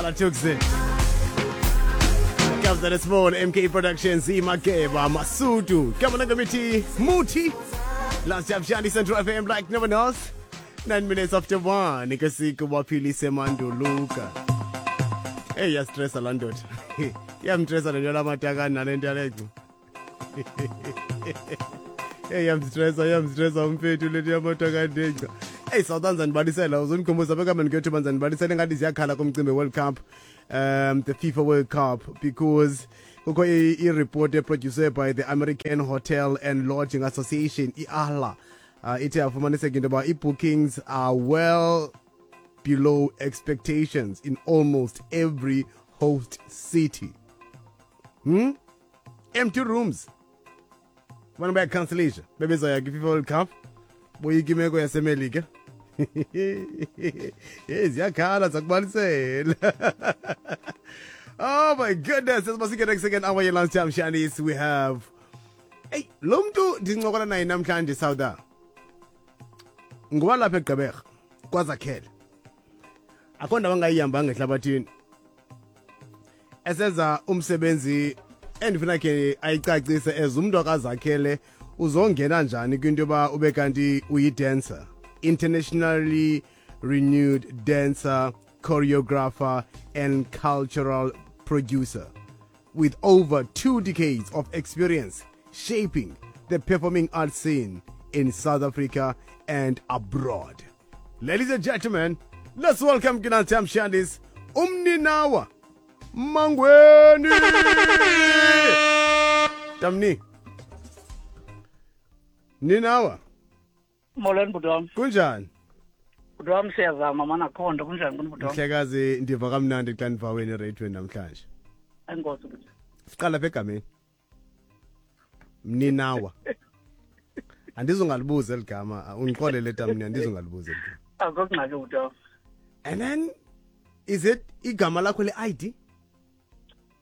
Hlala Tuxi. Kabza De Small, MK Productions, Imageba, Masudu, Kamana Committee, Muti, Last Jab Shandi Central FM like no one else. 9 minutes after 1, ikasiku waphilise manduluka. Hey, yastressa laa ndoda. Iyamstressa le nto lamatakani nale nto yalecu. Hey, iyamstressa, iyamstressa umfethu le nto yamatakani nenca. Hey, South ndibalisela uzondikhumbuza bekame ndikuyothu banzandibalisela engathi ziyakhala kumcimbi World Cup, the FIFA World Cup, because kukho i-report eproduced by the American Hotel and Lodging Association, i-AHLA, ithe yafumaniseka into yoba ii-bookings are well below expectations in almost every host city. Empty rooms. Abantu bayacancelisha bebezoya kwi-FIFA World Cup, boyika imeko yaseMelika. Hey, ziyakhala, zakubalisela. Oh my goodness, sesibasike next second hour ye-lunchtime shandies. We have, hey, lo mntu ndincokola naye namhlanje, Sauda, ngowalapha eGqeberha kwaZakhele. Akho ndawo angayihambanga ehlabathini esenza umsebenzi endifuna khe ayicacise as umntu akaZakhele, uzongena njani kwinto yoba ube kanti uyi-dancer, internationally renewed dancer, choreographer and cultural producer with over 2 decades of experience shaping the performing arts scene in South Africa and abroad. Ladies and gentlemen, let's welcome Kinantam Shandis, Umninawa Mangweni. Tamni. Ninawa. Molweni, bhuti wam. Kunjani? Bhuti wam, siyazama mana, akho nto. Kunjani kuni, bhuti wam? Mhlekazi, ndiva kamnandi xa ndiva wena ereyidweni namhlanje. Enkosi, bhuti. Siqala apha egameni. Mninawa. Andizongalibuza eli gama, undixolele tamni, andizongalibuza eli gama. Akho ngxaki, bhuti wam. And then is it igama lakho le-ID?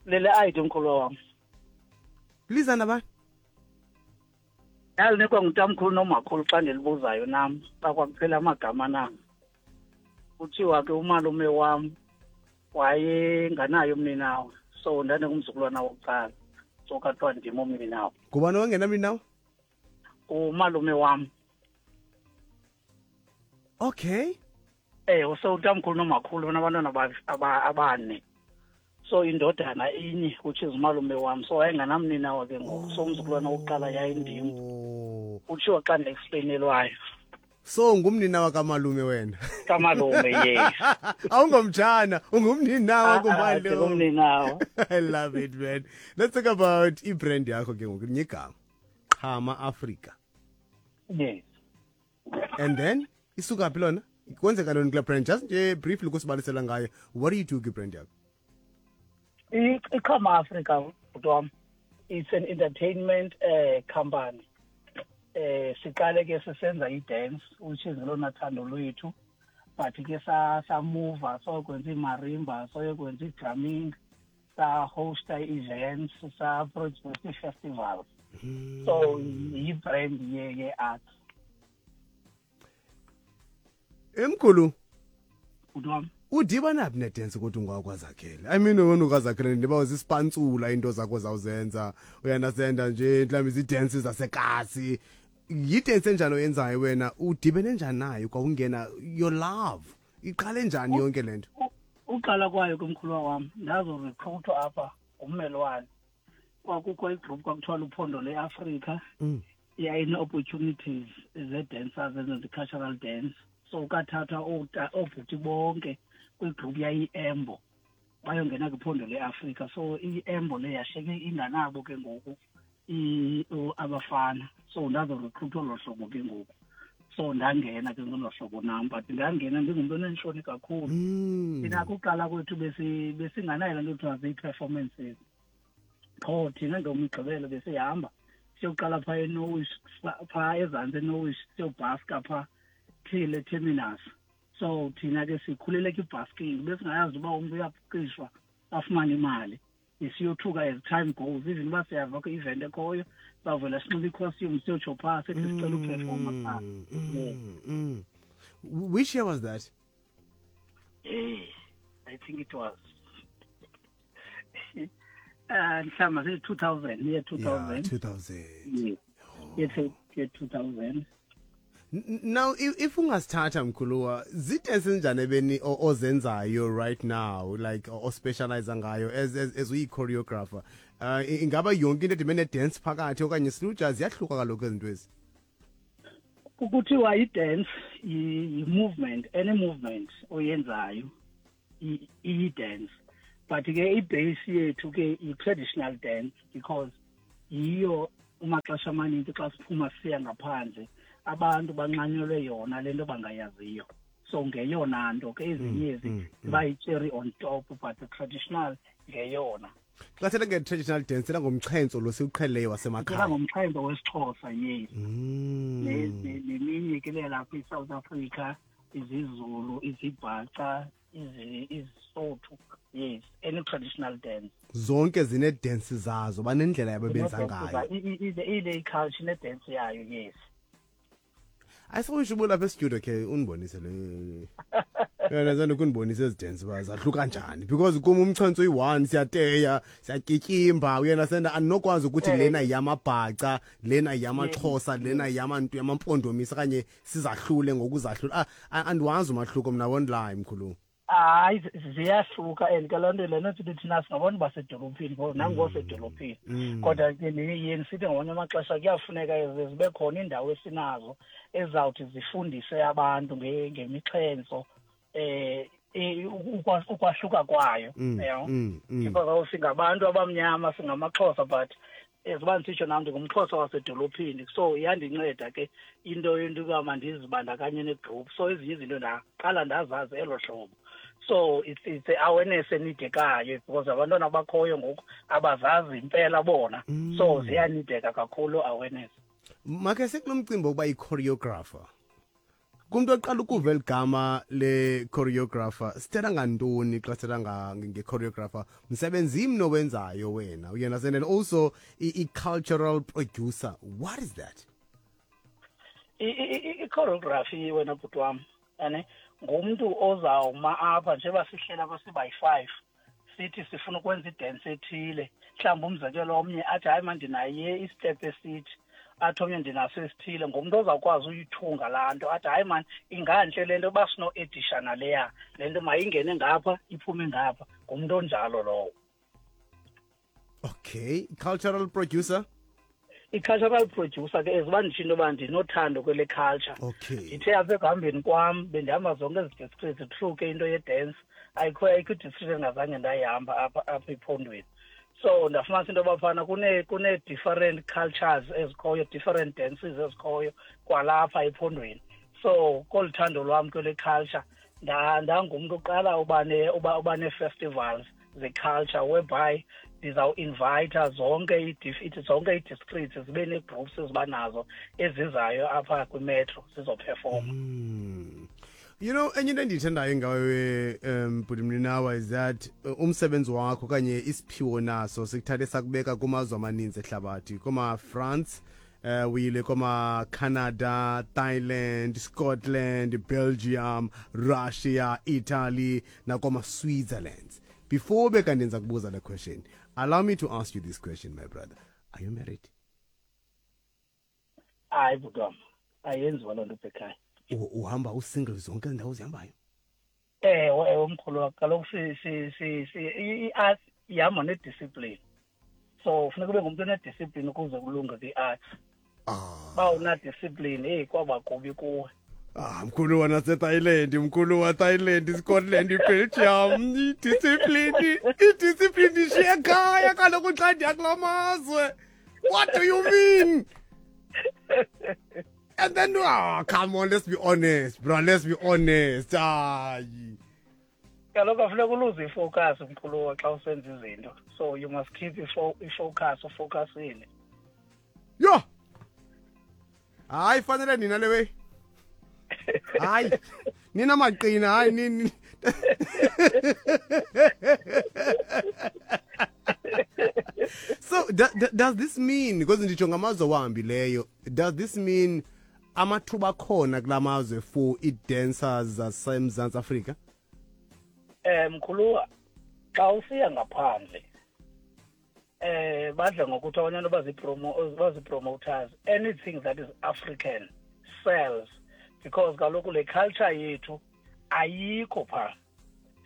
Lele ID, mkhulu wam. Liza nabani? Ndalinikwa ngutamkhulu nomakhulu xa ndilibuzayo nam xa kwakuphela amagama nam. Kuthiwa ke umalume wam wayenganayo umninawa, so ndandingumzukulwana wokuqala, so kathiwa ndim umninawa. Ngubani owangena mninawa? Umalume wam. Ewe, so utamkhulu nomakhulu banabantwana abane, so indodana inye, which is umalume wam, so wayenganamninawa ke ngoku, so umzukulwana wokuqala yayindim. Kutshiwo xa ndiexplainelwayo. So ngumninawa kamalume wena? Kamalume, yes. Awungomtshana, ungumninawa kumalume. Ndingumninawa. I love it, man. Let's talk about i-brand yakho ke ngoku, linye igama, Qhama Africa. Yes. And then isuka phi lona? Kwenzeka ntoni kule brand? Just nje briefly kusibalisela ngayo. What do you do kwi-brand yakho? IQhama Africa, bhuti wam, it's an entertainment company. Siqale ke sisenza i-dance, which is lona thando lwethu, but ke samuva soyokwenza imarimba, soyokwenza i-drumming, sa-hosta events, sa-produce ii-festivals, so yi-brand ye-art. Emkhulu. Bhuti wam. Udibana phi ne-dance kodwa ungwakwaZakhele? I mean, wena ukwaZakhele, ndiba zisipantsula into zakho zawuzenza, uyandasenda nje mhlawumbi zii-dance zasekasi. Yi-dance enjani oyenzayo wena? Udibene njani nayo kwawungena your love? Iqale njani yonke le nto? Uqala kwayo kumkhuluwa wam, ndazorecruithwa apha ngummelwane. Kwakukho igroup kwakuthiwa Luphondo leAfrika, yayine-opportunities ze-dancers ezenza i-cultural dance, so kathathwa oobhuti bonke kwigroup yayi-Embo bayongena kwiphondo leAfrika. So i-Embo le yashiyeke inganabo ke ngoku abafana, so ndazorecruithwa olo hlobo ke ngoku, so ndangena ke ngolo hlobo nam, but ndangena ndingumntu oneentloni kakhulu. Thina kuqala kwethu besinganayo laa nto kuthiwa zii-performances. Qho thina ngoMgqibelo besihamba siyoqala phaa eNowish, phaa ezantsi eNowish, siyobhaska phaa till eterminus. So thina ke sikhulele kwibhasking, besingayazi uba umntu uyaqishwa afumane imali. Siyothuka as time goes, even uba siyava kwi-event ekhoyo, bavela sinxiba i-costume, siyotsho phaa sithi sicela uperforma phaa. Which year was that? Eh, I think it was mhlawumbi sithi 2000, year 2000. Yeah, 2000. Yeah. Year 2000. Now if ungasithatha mkhuluwa, zidance enjani ebeni ozenzayo right now, like ospecialize ngayo as uyi choreographer? Ingaba yonke into edibene dance phakathi okanye siluja ziyahluka kaloku izinto ezi? Kuthiwa i-dance i-movement, any movement oyenzayo iyi-dance, but ke i-base yethu ke i-traditional dance, because yiyo umaxesha amaninzi xa siphuma siya ngaphandle abantu banxanyelwe yona lento bangayaziyo. So ngeyona nto ke ezinye ezi ziba yi-cherry on top, but the traditional ngeyona. Xa sithetha nge-traditional dance, sithetha ngomxhentso lo siwuqhelileyo wasemakhaya. Sithetha ngomxhentso wesiXhosa, yes. Neminye ke le lapha eSouth Africa, isiZulu, isiBhaca, isiSotho, yes, any traditional dance. Zonke zine-dance zazo, banendlela yabo benza ngayo. Ile culture ne-dance yayo, yes. Ayisho ubulapha e-studio ke undibonise le. Yena zana ukundibonisa ezi dance ba zahluka kanjani, because kum umxhentso uyi-one, siyateya, siyatyityimba, uyena senda andinokwazi ukuthi lena yamabhaca, lena yamaXhosa, lena yamantu yamampondomisa okanye sizahlule ngokuzahlula. Andiwazi umahluko mna, won't lie mkhulu. Hayi, ziyahluka, and ke loo nto lena sithi thina singabantu basedolophini, nangosedolophini, kodwa ke yeni sithi ngamanye amaxesha kuyafuneka zibe khona iindawo esinazo ezizawuthi zifundise abantu ngemixhentso, ukwahluka kwayo, yabo, because singabantu abamnyama, singamaXhosa, but eziba ndisitsho nam ndingumXhosa wasedolophini, so iyandinceda ke into yoba mandizibandakanye negroup. So ezinye izinto ndaqala ndazazi elo hlobo. So it's the awareness enidekayo, because abantwana abakhoyo ngoku abazazi impela bona, so ziyanideka kakhulu awareness. Makhe sekulo mcimbi wokuba yi-choreographer, kumntu oqala ukuva eligama le-choreographer, sithetha ngantoni xa sithetha nge-choreographer? Msebenzi mni owenzayo wena, uyena, and also i-cultural producer, what is that? I-choreography wena bhuti wam, ane ngumntu ozawuma apha njengoba sihlela apha sibayi-5, sithi sifuna ukwenza idance ethile, mhlawumbi umzekelo omnye athi hayi man ndinaye istep esithi, athi omnye ndinaso esithile. Ngumntu ozawukwazi uyithunga laa nto, athi hayi man ingantle le nto uba sino-edisha naleya, le nto mayingene ngapha iphume ngapha. Ngumntu onjalo lowo. Okay, cultural producer? I-cultural producer ke eziba nditsho into yoba ndinothando kwele culture. Ndithe apha ekuhambeni kwam bendihamba zonke ezi districts through ke into ye-dance, ayikho i-district endingazange ndayihamba apha ephondweni. So ndafumanisa into yoba phana kune-different cultures ezikhoyo, different dances ezikhoyo kwalapha ephondweni. So kolu thando lwam kwele culture, ndangumntu oqala uba nee-festivals ze-culture, whereby ndizawuinvayitha zonke ii-districts zibe nee-groups ezibanazo ezizayo apha kwimetro zizoperforma. You know, enye into endiyithandayo ngawe, bhuti Mninawa, is that umsebenzi wakho okanye isiphiwo naso sikuthathe sakubeka kumazwe amaninzi ehlabathi, koma-France, uyile koma-Canada, Thailand, Scotland, Belgium, Russia, Italy, nakoma-Switzerland. Before bekandenza kubuza le question, allow me to ask you this question, my brother. Are you married? Hayi bhuti wam, ayenziwa loo nto ekhaya. Uhamba usingle zonke izindawo ozihambayo? Ewe, ewe mkhulu, kaloku i-art ihamba nediscipline, so funeka ube ngumntu onediscipline ukuze kulunge kwi-art. Uba unadiscipline, eyi kwaba kubi kuwe. Mkhulu wanaseThailand, mkhulu waThailand, Scotland, Belgium, idiscipline ishiya ekhaya kaloku xa ndiya kula mazwe. What do you mean? And then, come on, let's be honest, bro, let's be honest. Hayi. Kaloku afuneka uluze ifocus mkhulu xa usenza izinto. So you must keep ifocus, ufocusile. Yo! Hayi, fanele nina le way. Hayi, nina maqina, hayi nini. So does this mean, because nditsho ngamazwe owahambileyo, does this mean amathuba akhona kula mazwe for ii-dancers zaseMzantsi Afrika? Mkhuluwa, xa usiya ngaphandle, badla ngokuthi abanye abantu bazi-promoters, anything that is African sells, because kaloku le culture yethu ayikho phaa.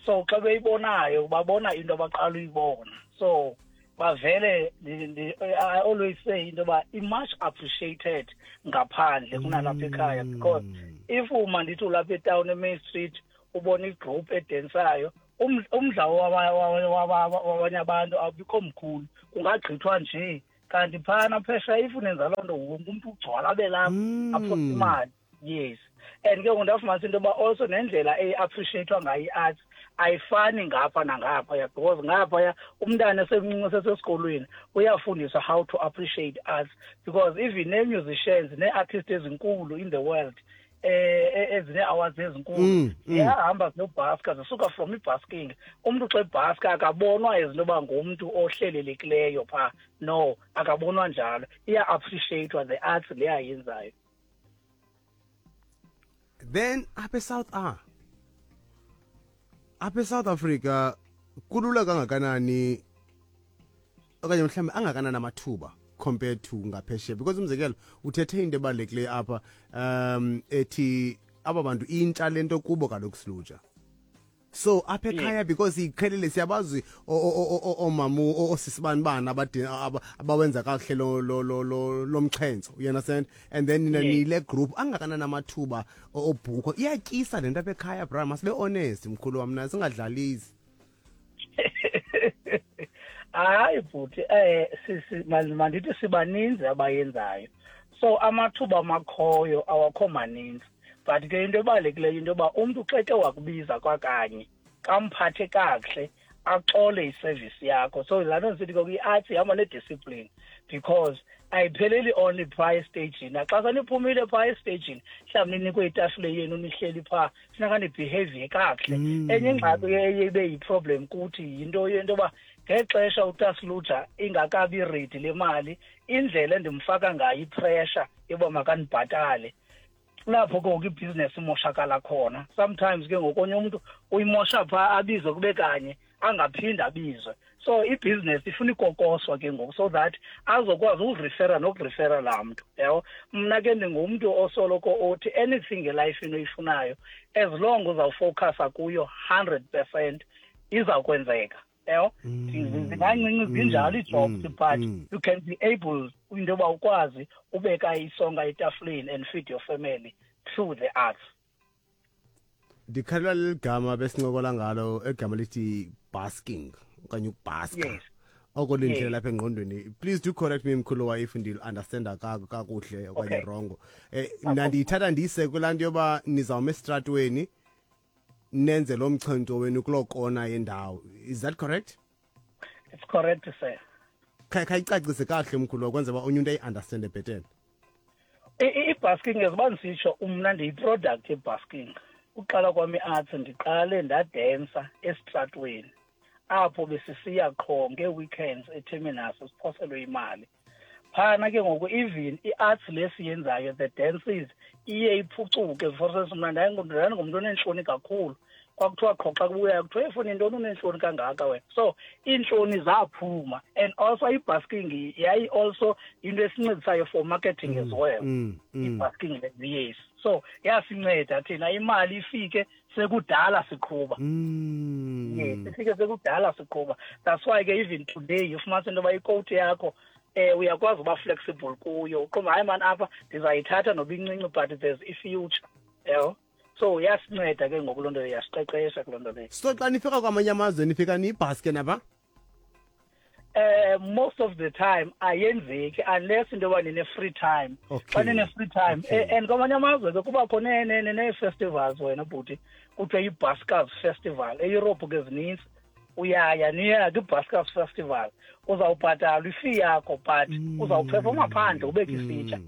So xa beyibonayo, babona into abaqala uyibona, so bavele. I always say into yoba i-much appreciated ngaphandle kunalapha ekhaya, because if uma ndithi ulapha etawuni, eMain Street, ubona igroup edensayo, umdla wabanye abantu awubikho mkhulu, kungagqithwa nje. Kanti phana phesheya, if unenza loo nto, wonke umntu ugcwala abe lapha, aphose imali. Yes, and ke ngoku ndafumanisa into yoba also nendlela eyi-appreciatwa ngayo i-arts ayifani ngapha nangaphaya, because ngaphaya umntana esemncinci, sesesikolweni, uyafundiswa how to appreciate arts, because even nee-musicians, nee-artists ezinkulu in the world, ezine-awards ezinkulu, ziyahamba ziyobhaska, zisuka from ibasking. Umntu xa ebhaska akabonwa as into yoba ngumntu ohlelelekileyo phaa. No, akabonwa njalo. Iya-appreciatwa the arts le ayenzayo. Then apha eSouth Africa kulula kangakanani, okanye mhlawumbe angakanani amathuba compared to ngaphesheya? Because umzekelo, uthethe into ebalulekileyo apha, ethi aba bantu intsha lento kubo kaloku silutsha. So apha ekhaya, because iqhelile, siyabazi oomama, oosisibanibani abawenza kakuhle lo mxhentso, you understand? And then nina nile group, angakanani amathuba obhukho? Iyatyisa le nto apha ekhaya, bra? Masibe honest, mkhulu wam, na singadlalisi. Hayi bhuti, mandithi sibaninzi abayenzayo, so amathuba amakhoyo awakho maninzi. But ke into ebalulekileyo, into yoba umntu xa eke wakubiza kwakanye, kamphathe kakuhle, axole iservice yakho. So laa nto ndisithi ke i-arts ihamba nediscipline, because ayipheleli only phaa esteyijini. Naxa seniphumile phaa esteyijini, mhlawumbi ninikwe itafile yenu, nihleli phaa, funeka nibehave kakuhle. Enye ingxaki eye ibe yiproblem kuthi yinto yento yoba ngexesha utasluja ingakabi ready le mali, indlela endimfaka ngayo ipressure yoba makandibhatale, kulapho ke ngoku ibhizinesi imoshakala khona. Sometimes ke ngokonye umntu uyimosha phaa, abizwe kube kanye, angaphinde abizwe. So ibhizinesi ifuna ikokoswa ke ngoku, so that azokwazi ukurifera nokurifera laa mntu, yabo. Mna ke ndingumntu osoloko othi anything elifini oyifunayo, as long uzawufocusa kuyo 100%, izawukwenzeka, yabo. Zingancinci zinjalo ii-jobs, but you can be able into yoba ukwazi ubeka isonka etafuleni and feed your family through the arts. Ndikhalela leli gama besincokola ngalo, egama lithi basking okanye ukubhaska. Oko lindlela lapha engqondweni. Please do correct me, mkhulu wa, if ndil-understanda kakuhle okanye wrong. Mna ndiyithatha ndiyise kulaa nto yoba nizawuma esitratweni, nenze lo mxhento wenu kuloo kona yendawo. Is that correct? It's correct, sir. Khayicacise kakuhle, mkhulu, kwenza uba onye umntu ayi-understande bhetele. I-busking, eziba ndisitsho, mna ndiyi-product ye-busking. Uqala kwam i-arts, ndiqale ndadensa esitratweni, apho besisiya qho ngee-weekends eterminus, siphoselwe imali phana. Ke ngoku even i-arts le siyenzayo, the dances, iye iphucuke. For instance, mna ndandingumntu oneentloni kakhulu. Kwakuthiwa qho xa kubuyayo, kuthiwa, "Efuni intoni, uneentloni kangaka wena?" So iintloni zaphuma. And also i-busking yayi also into esincedisayo for marketing as well. I-busking le, yes, so yasinceda thina, imali ifike sekudala siqhuba. Yes, ifike sekudala siqhuba. That's why ke even today ufumanisa into yoba ikowuti yakho uyakwazi uba flexible kuyo, uqomba, "Hayi mani, apha ndizayithatha noba incinci, but there's i-future," yabo. So yasinceda ke ngoku loo nto, yasiqeqesha kuloo nto leyo. So xa nifika kwamanye amazwe, nifika niyibhaske napha? Most of the time ayenzeki unless into yoba nine-free time. Xa nine-free time, and kwamanye amazwe ke kubakho nee-festivals, wena bhuti, kuthiwa yi-buskers festival. EYurophu ke zinintsi. Uyaya, niya kwi-buskers festival, uzawubhatalwa ifee yakho, but uzawuphefoma phandle, ubeke isitya.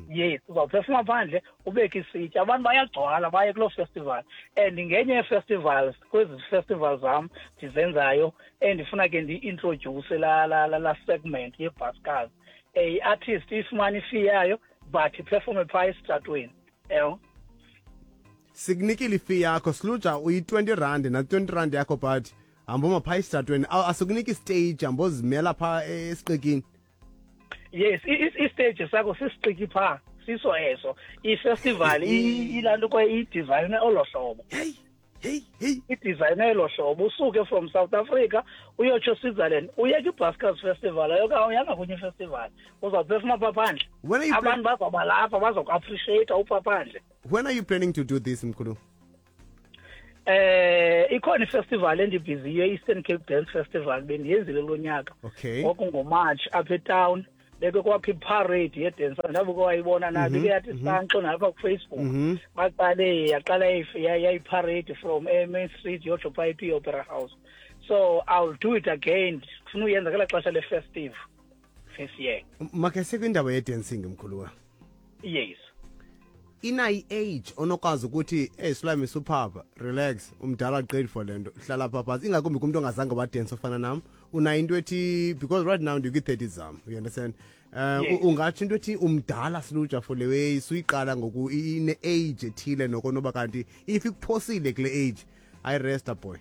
Yes, uzawuphefoma phandle, ubeke isitya. Abantu bayagcwala baye kuloo festival. And ngenye yee-festivals, kwezi festivals zam ndizenzayo, endifuna ke ndiyi-introduce laa segment ye-buskers, i-artist ifumane ifee yayo, but iphefome phaa esitratweni, yabo. Sikunikile ifee yakho, Sluja, uyi-20 rand na-20 rand yakho, but hamba phaa esitratweni, asikunika istage, hamba ozimela phaa esiqikini. Yes, istage sakho sisiqiki phaa, siso eso ifestival, ilaa nto kwaye idizayine olo hlobo. Hey, hey, hey. Idizayine elo hlobo, usuke from South Africa uyotsho Switzerland, uye kwi-Buskers Festival, ayoka kwenye ifestival, uzawuphefuma phaa phandle. When are you Abantu bazawuba lapha, bazokuappreciata uphaa phandle. When are you planning to do this, mkhulu? Ikhona ifestival endibhiziyo, i-Eastern Cape Dance Festival, bendiyenzile lo nyaka. Ngoku ngoMarch apha etown beke kwakho iparade yedancer, ndabe kwayibona nayo, beke yathi sanxo nalapha kuFacebook. Baqale yaqala yayiparade from e-Main Street yotsho phaa ePi Opera House. So I'll do it again, ndifuna uyenza ngelaa xesha le-festive this year. Makhe sikwindaba ye-dancing, mkhuluwa. Yes. Inayi age onokwazi ukuthi, "Hey Sulami, suphapha, relax, umdala qedi for le nto, hlala pha phantsi," ingakumbi kumntu ongazange wadensa ofana nam? Unayo into ethi, because right now ndikwi-30 zam, you understand? Yes. Ungatsho into ethi umdala, Sluja, for le way suyiqala ngoku, ine-age ethile noko noba kanti if ikuphosile kule age, ayiresta, boy?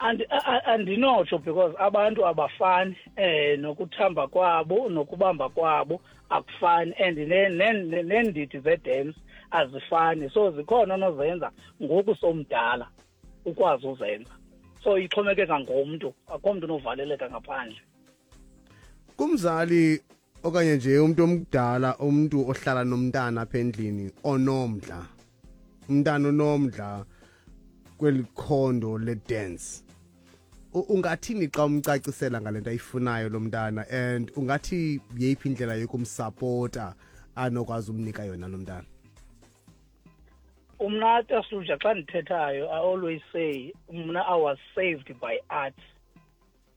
Andinotsho because abantu abafani, nokuthamba kwabo nokubamba kwabo akufani, and neendidi ze-dance azifani, so zikhona onozenza ngoku somdala ukwazi uzenza, so ixhomekeka ngomntu, akho mntu unovaleleka ngaphandle. Kumzali okanye nje umuntu omdala, umuntu ohlala nomntana apha endlini onomdla, umntana onomdla kweli khondo le-dance, ungathini xa umcacisela ngale nto ayifunayo lo mntana, and ungathi yeyiphi indlela yokumsapota anokwazi umnika yona lo mntana? Umna, Tasuja, xa ndithethayo I always say mna I was saved by art,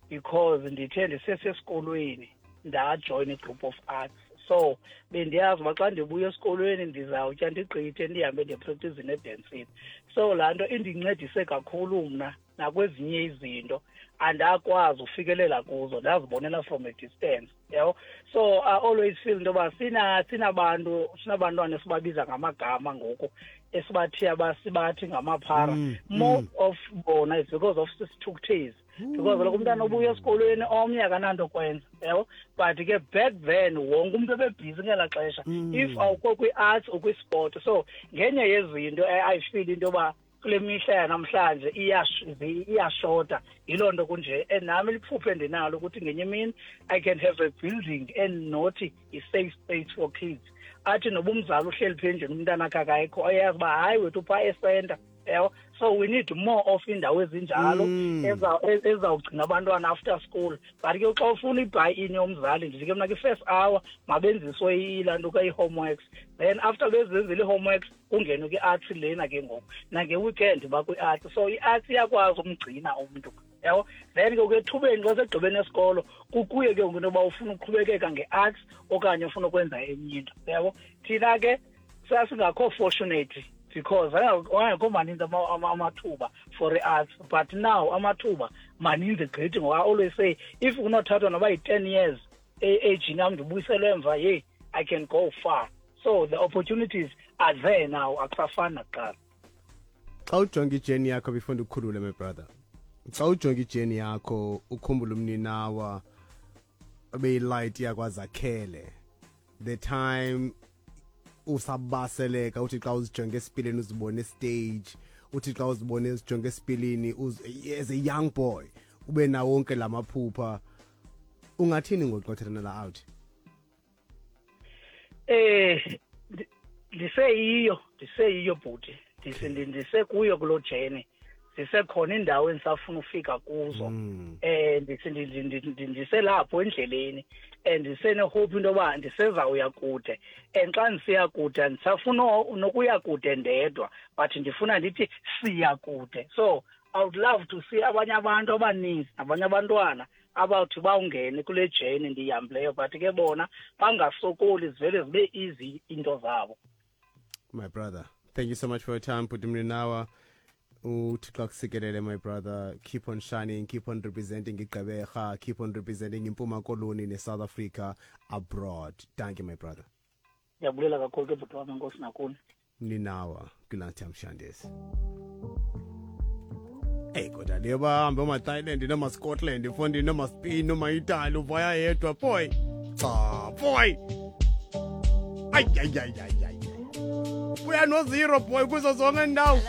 because ndithe ndisesesikolweni ndajoyina i-group of arts, so bendiyazi uba xa ndibuya esikolweni ndizawutya ndigqithe ndihambe ndiyepracticini edancini. So laa nto indincedise kakhulu mna nakwezinye izinto andakwazi ufikelela kuzo, ndazibonela from a distance, yabo. So I always feel into yoba sinabantu, sinabantwana esibabiza ngamagama ngoku, esibathiya sibathi ngamaphara. Most of bona is because of sisithukuthezi, because kaloku umntana obuya esikolweni omnye akananto kwenza, yabo. But ke back then wonke umntu ebebhizi ngelaa xesha. If awukho kwi-arts, ukwisport. So ngenye yezinto I feel into yoba kule mihla yanamhlanje iyashota, yiloo nto kunje. And nami liphupho endinalo ukuthi ngenye imini I can have a building endinothi i-safe space for kids, athi noba umzali uhleli pha endlini umntana akhe akayikho, ayazi uba hayi wethu phaa esenta, yabo. So we need more of iindawo ezinjalo ezizawugcina abantwana after school. But ke xa ufuna i-buy in yomzali, ndithi ke mna kwi-first hour mabenziswe ilaa nto ka-i-homeworks, then after bezenzile ii-homeworks kungenwe kwi-arts lena ke ngoku, nange-weekend bakwi-arts. So i-arts iyakwazi umgcina umntu, yabo. Then ke ethubeni xa segqibeni esikolo kukuye ke ngoku into yoba ufuna uqhubekeka nge-arts okanye ufuna ukwenza enye into, yabo. Thina ke sasingakho fortunate because angekho maninzi amathuba for i-arts, but now amathuba maninzi gqithi, ngoba I always say if kunothathwa noba yi-10 years e-agini yam ndibuyiselwe emva, yeyi, I can go far. So the opportunities are there now, akusafani nakuqala. Xa ujonga ijourney yakho, before ndikukhulule, my brother, xa ujonga ijourney yakho, ukhumbula umninawa obeyi-light yakwaZakhele, the time usabaseleka, uthi xa uzijonge esipilini uzibone stage, uthi xa uzibone uzijonge esipilini as a young boy ube nawo wonke lamaphupha, ungathini ngoqothelana la out? Ndiseyiyo bhuti, ndisekuyo kuloo journey, zisekhona iindawo endisafuna ufika kuzo. Ndiselapho endleleni and ndisene-hope into yoba ndisezawuya kude, and xa ndisiya kude andisafuna nokuya kude ndedwa, but ndifuna ndithi siya kude. So I would love to see abanye abantu abaninzi nabanye abantwana abawuthi bawungene kule journey ndiyihambileyo, but ke bona bangasokoli, zivele zibe easy into zabo. My brother, thank you so much for your time, bhuti Mninawa. UThixo akusikelele, my brother. Keep on shining, keep on representing iGqeberha, keep on representing iMpuma Koloni ne-South Africa abroad. Thank you, my brother. Ndiyabulela kakhulu ke, bhuti wam, enkosi nakuni. Mninawa kwi-Lunchtime Shandes. Eyi, kodwa leyo bahambe omaThailand nomaScotland, mfondini, nomaSpain, nomaItaly, uvaya yedwa, boy. Cha, boy. Ay, ay, ay, ay, ay. Uya no-zero, boy, kuzo zonke indawo.